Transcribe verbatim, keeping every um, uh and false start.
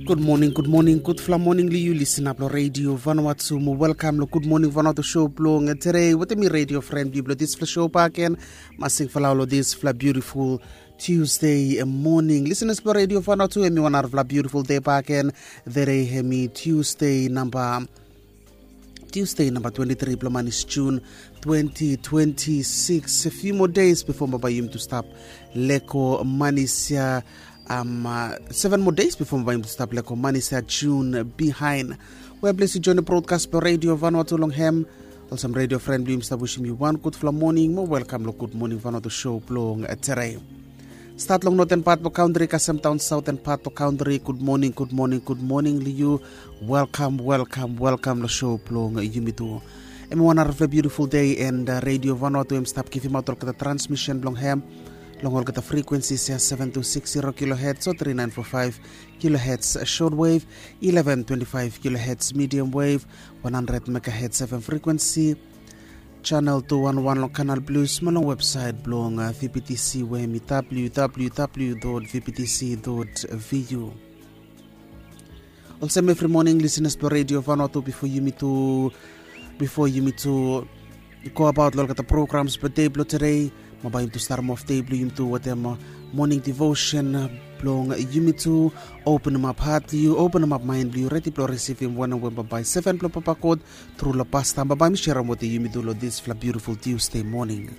Gud moning, gud moning, gudfala moning long yu listener blong Radio Vanuatu. Mo welkam long Gud Moning Vanuatu show blong today wetem mi radio friend blong dispela show baken. Masing falau long dispela beautiful Tuesday morning. Listeners blong Radio Vanuatu, em i wan arafala beautiful day baken. Today em i Tuesday namba Tuesday namba twenty-three bilong manis Jun twenty twenty-six. A few more days before baba yumi tu stap leko manis ya. Um, uh, seven more days before baba yumi tu stap leko manis ya Jun behind. Well, bless you join the broadcast by Radio Vanuatu long hem. Olsem radio friend blong yumi stap wishim yu wan gudfala morning mo welcome lo Good Morning Vanuatu show blong today. Stat long northern part blong country kasem daun southern part blong country. Good morning, good morning, good morning long yu. Welcome, welcome, welcome long show blong yumi tu. Em i wan arafala beautiful day and uh, Radio Vanuatu em stap givim aut olgeta transmission blong hem long olgeta frequencies ya seven two six zero kilohertz o three nine four five kilohertz short wave, eleven twenty-five kilohertz medium wave, one hundred megahertz F M frequency, channel two one one long Canal Plus mo long website blong uh, V P T C we em i W W W dot V P T C dot V U. Olsem every morning listeners blong Radio Vanuatu, before yumi tu before yumi tu go about long olgeta programs blong day blong today, ma bai yumi tu starim off day blong yumi tu wetem uh, morning devotion uh, blong yumi tu openim up heart blong yu, openim up mind blong yu, redi blong risivim wanem we bambae seven blong Papa God tru long pastam bambae mi sharim wetem yumi tu long dispela beautiful Tuesday morning.